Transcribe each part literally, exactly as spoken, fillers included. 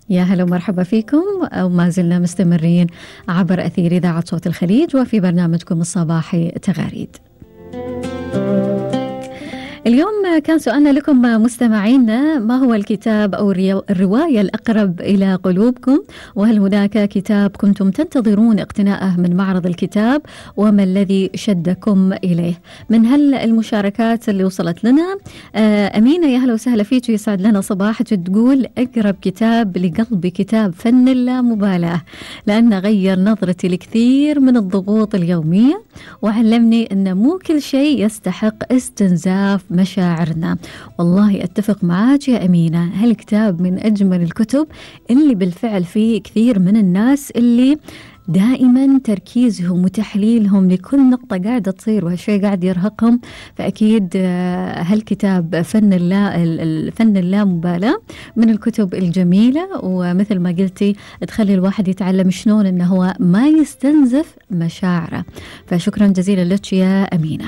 يا هلا ومرحبا فيكم، وما زلنا مستمرين عبر أثير إذاعة صوت الخليج وفي برنامجكم الصباحي تغاريد. اليوم كان سؤالنا لكم مستمعينا: ما هو الكتاب أو الرواية الأقرب إلى قلوبكم؟ وهل هناك كتاب كنتم تنتظرون اقتناءه من معرض الكتاب؟ وما الذي شدكم إليه؟ من هل المشاركات اللي وصلت لنا أمينة، يا هلا وسهلا فيك، يسعد لنا صباحك. تقول: أقرب كتاب لقلبي كتاب فن اللامبالاة، لأنه غير نظرتي لكثير من الضغوط اليومية وعلمني أن مو كل شيء يستحق استنزاف مشاعرنا. والله أتفق معاك يا أمينة، هالكتاب من أجمل الكتب اللي بالفعل فيه كثير من الناس اللي دائما تركيزهم وتحليلهم لكل نقطة قاعدة تصير وهالشيء قاعد يرهقهم. فأكيد هالكتاب فن اللا الفن اللامبالاة من الكتب الجميلة، ومثل ما قلتي تخلي الواحد يتعلم شلون إنه هو ما يستنزف مشاعره. فشكرا جزيلا لك يا أمينة.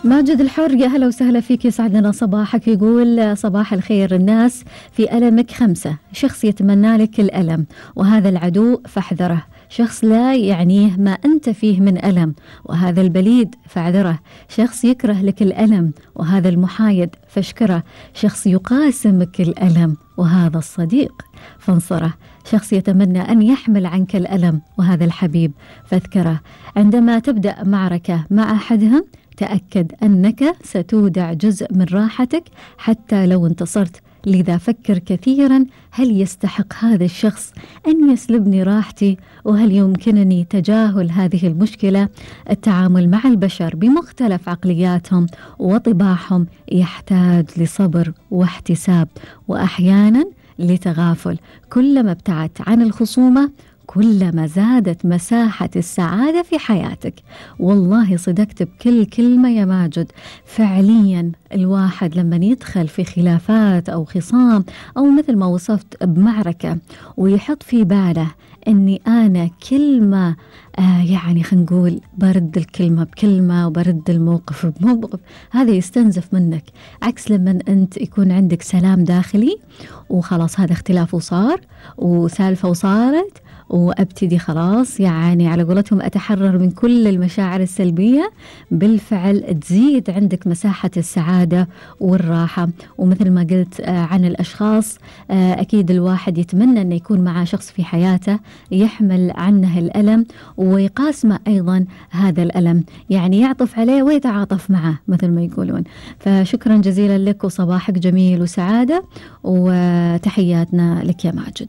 ماجد الحر، يا هلا وسهلا فيك، يسعد لنا صباحك. يقول: صباح الخير، الناس في ألمك خمسة: شخص يتمنى لك الألم وهذا العدو فاحذره، شخص لا يعنيه ما أنت فيه من ألم وهذا البليد فاعذره، شخص يكره لك الألم وهذا المحايد فاشكره، شخص يقاسمك الألم وهذا الصديق فانصره، شخص يتمنى أن يحمل عنك الألم وهذا الحبيب فاذكره. عندما تبدأ معركة مع أحدهم تأكد أنك ستودع جزء من راحتك حتى لو انتصرت، لذا فكر كثيرا: هل يستحق هذا الشخص أن يسلبني راحتي؟ وهل يمكنني تجاهل هذه المشكلة؟ التعامل مع البشر بمختلف عقلياتهم وطباعهم يحتاج لصبر واحتساب وأحيانا لتغافل. كلما ابتعدت عن الخصومة كلما زادت مساحة السعادة في حياتك. والله صدقت بكل كلمة يا ماجد. فعليا الواحد لما يدخل في خلافات أو خصام أو مثل ما وصفت بمعركة ويحط في باله أني أنا كلمة آه يعني خلينا نقول برد الكلمة بكلمة وبرد الموقف بموقف، هذا يستنزف منك. عكس لما أنت يكون عندك سلام داخلي وخلاص هذا اختلاف وصار وسالفة وصارت وأبتدي خلاص يعني على قولتهم أتحرر من كل المشاعر السلبية، بالفعل تزيد عندك مساحة السعادة والراحة. ومثل ما قلت عن الأشخاص، أكيد الواحد يتمنى أن يكون معه شخص في حياته يحمل عنه الألم ويقاسمه أيضا هذا الألم، يعني يعطف عليه ويتعاطف معه مثل ما يقولون. فشكرا جزيلا لك وصباحك جميل وسعادة، وتحياتنا لك يا ماجد.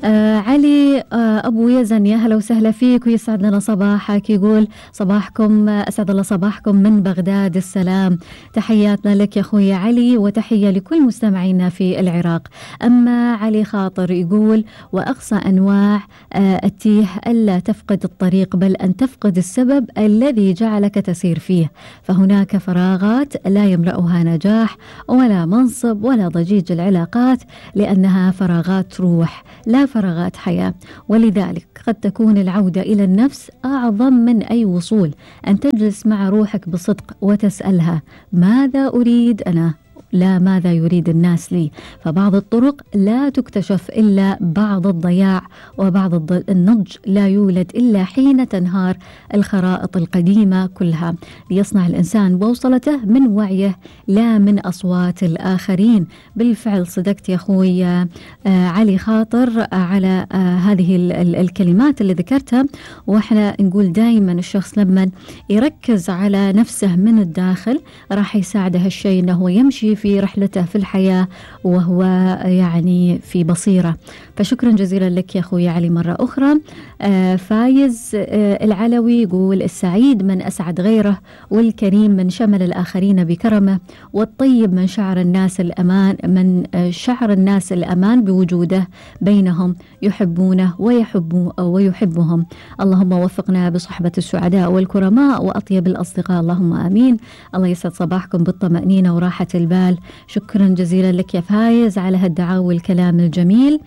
آه علي آه أبو يزن، يا هلا وسهلا فيك ويسعد لنا صباحك. يقول: صباحكم أسعد الله صباحكم من بغداد السلام. تحياتنا لك يا أخوي علي وتحية لكل مستمعينا في العراق. أما علي خاطر يقول: وأقصى أنواع آه التيه ألا تفقد الطريق بل أن تفقد السبب الذي جعلك تسير فيه، فهناك فراغات لا يملأها نجاح ولا منصب ولا ضجيج العلاقات، لأنها فراغات روح لا فراغات حياة. ولذلك قد تكون العودة إلى النفس أعظم من أي وصول، أن تجلس مع روحك بصدق وتسألها: ماذا أريد أنا؟ لا ماذا يريد الناس لي. فبعض الطرق لا تكتشف إلا بعض الضياع، وبعض النضج لا يولد إلا حين تنهار الخرائط القديمة كلها. ليصنع الإنسان بوصلته من وعيه لا من أصوات الآخرين. بالفعل صدقت يا أخوي آه علي خاطر آه على آه هذه ال ال الكلمات اللي ذكرتها. وإحنا نقول دائما الشخص لما يركز على نفسه من الداخل راح يساعده هالشيء أنه يمشي في رحلته في الحياة وهو يعني في بصيرة. فشكرا جزيلا لك يا أخوي علي مرة أخرى. آه فايز آه العلوي يقول: السعيد من أسعد غيره، والكريم من شمل الآخرين بكرمه، والطيب من شعر الناس الأمان من آه شعر الناس الأمان بوجوده بينهم، يحبونه ويحبو ويحبهم. اللهم وفقنا بصحبة السعداء والكرماء وأطيب الأصدقاء، اللهم آمين. الله يسعد صباحكم بالطمأنينة وراحة البال. شكرا جزيلا لك يا فايز على هالدعاء والكلام الجميل.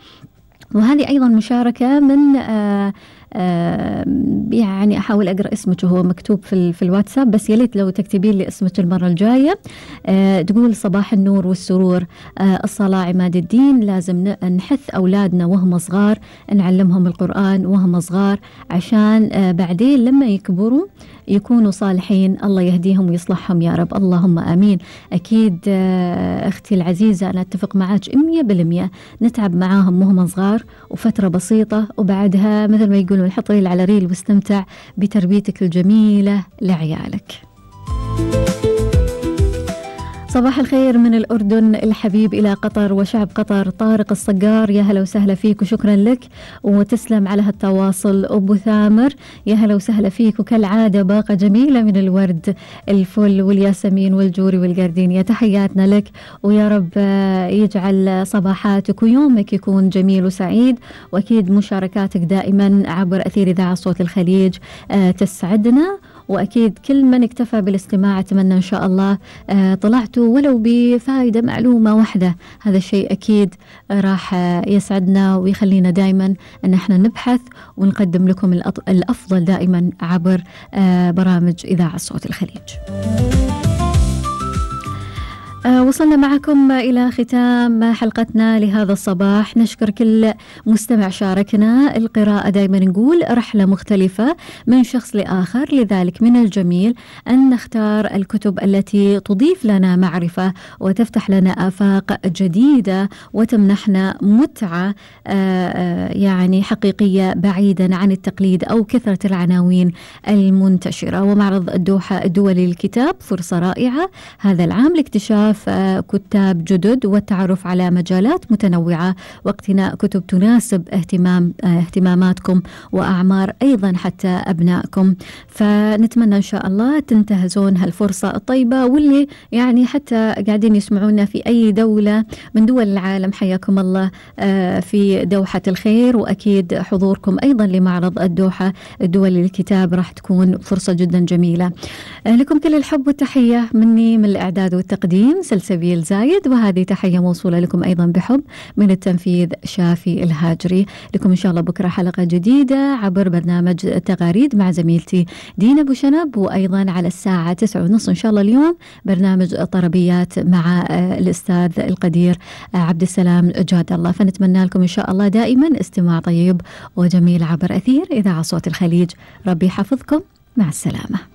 وهذه أيضا مشاركة من آه يعني أحاول أقرأ اسمك وهو مكتوب في, في الواتساب، بس يليت لو تكتبين لي اسمك المرة الجاية. تقول صباح النور والسرور، الصلاة عماد الدين، لازم نحث أولادنا وهم صغار، نعلمهم القرآن وهم صغار عشان بعدين لما يكبروا يكونوا صالحين، الله يهديهم ويصلحهم يا رب، اللهم آمين. أكيد أختي العزيزة أنا أتفق معاك مية بالمية، نتعب معاهم وهم صغار وفترة بسيطة، وبعدها مثل ما يقولون الحط ريل على ريل واستمتع بتربيتك الجميلة لعيالك. صباح الخير من الأردن الحبيب إلى قطر وشعب قطر، طارق الصقار، يا هلا وسهلا فيك وشكرا لك وتسلم على هالتواصل. أبو ثامر يا هلا وسهلا فيك، وكالعادة باقة جميلة من الورد، الفل والياسمين والجوري والقردين، تحياتنا لك، ويا رب يجعل صباحاتك ويومك يكون جميل وسعيد، وأكيد مشاركاتك دائما عبر أثير إذاعة صوت الخليج تسعدنا، وأكيد كل من اكتفى بالاستماع أتمنى إن شاء الله طلعتوا ولو بفائدة معلومة واحدة، هذا الشيء أكيد راح يسعدنا ويخلينا دائما أن احنا نبحث ونقدم لكم الأفضل دائما عبر برامج إذاعة صوت الخليج. آه وصلنا معكم إلى ختام حلقتنا لهذا الصباح. نشكر كل مستمع شاركنا. القراءة دائما نقول رحلة مختلفة من شخص لآخر، لذلك من الجميل أن نختار الكتب التي تضيف لنا معرفة وتفتح لنا آفاق جديدة وتمنحنا متعة آه يعني حقيقية بعيدا عن التقليد أو كثرة العناوين المنتشرة. ومعرض الدوحة الدولي للكتاب فرصة رائعة هذا العام لاكتشاف كتاب جدد والتعرف على مجالات متنوعة واقتناء كتب تناسب اهتمام اهتماماتكم وأعمار أيضا حتى أبنائكم. فنتمنى إن شاء الله تنتهزون هالفرصة الطيبة، واللي يعني حتى قاعدين يسمعونا في أي دولة من دول العالم حياكم الله في دوحة الخير، وأكيد حضوركم أيضا لمعرض الدوحة الدولي للكتاب راح تكون فرصة جدا جميلة. لكم كل الحب والتحية مني من الإعداد والتقديم سلسبيل زايد، وهذه تحية موصولة لكم أيضا بحب من التنفيذ شافي الهاجري. لكم إن شاء الله بكرة حلقة جديدة عبر برنامج تغاريد مع زميلتي دينا أبو شنب، وأيضا على الساعة تسعة ونص إن شاء الله اليوم برنامج طربيات مع الأستاذ القدير عبد السلام جاد الله. فنتمنى لكم إن شاء الله دائما استماع طيب وجميل عبر أثير إذاعة صوت الخليج. ربي يحفظكم، مع السلامة.